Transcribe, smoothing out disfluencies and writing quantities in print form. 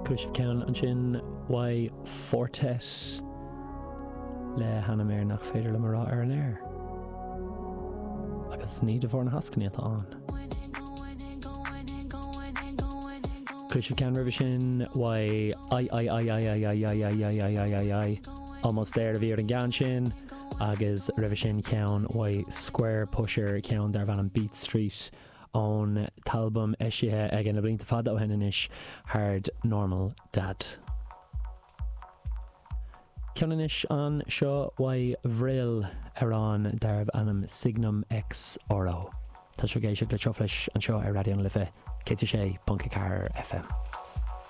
Chuala sibh ceann ansin uaidh Four Tet le hainm air nach féidir liom a rá ar an aer. Agus ní de bharr na heascainí atá ann. Chuala sibh ceann roimhe sin uaidh I I I I I I I I I I I I I Almost There a bhí ar an gceann sin agus roimhe sin ceann uaidh Squarepusher ceann darbh ainm Beat Street ón t-albam eisithe aige na blianta fada ó shin anois, Hard Normal Dad. Ceann anois anseo uaidh Vril, amhrán darbh ainm Signum X Oro. Tá sibh ag éisteacht le Truflais anseo ar Raidió na Life 106.4 FM.